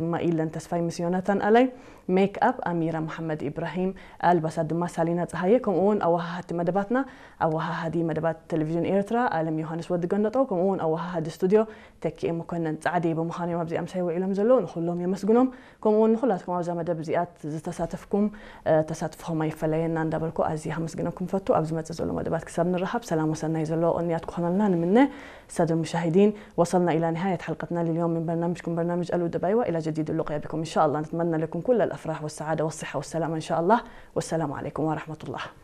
ድማ ኢለን ተስፋይ ምስ ዮናታን ኣላይ፣ ሜክ ኣፕ ኣሚራ መሓመድ ኢብራሂም፣ ኣልባሳት ድማ ሳሊና ጸሃየ፣ ከምኡ እውን ኣወሃሃድቲ መደባትና፣ ኣወሃሃዲ መደባት ቴሌቪዥን ኤርትራ ኣለም ዮሃንስ ወዲ ገነጦ፣ ከምኡ እውን ኣወሃሃዲ ስቱድዮ ተኪኤ መኮነን ጻዕዴ ብምዃን እዮም ኣብዚ ኣምሳይ ውዒሎም ዘለዉ። ንኹሎም የመስግኖም። ከምኡ እውን ንኹላትኩም ኣብዛ መደብ እዚኣ ዝተሳተፍኩም፣ እ፣ ተሳትፎኹም ኣይፈለየና እንዳበልኩ ኣዝየ ከመስግነኩም ፈቱ። ኣብ ዝመጽእ ዘሎ መደባት ክሳብ ንረኻብ ሰላም ወሰናይ ዘለዎ ቅንያት ክኾነልና ንምነ። السادة المشاهدين، وصلنا إلى نهاية حلقتنا لليوم من برنامجكم برنامج الأدب، وإلى جديد اللقاء بكم إن شاء الله. نتمنى لكم كل الأفراح والسعادة والصحة والسلامة إن شاء الله. والسلام عليكم ورحمة الله.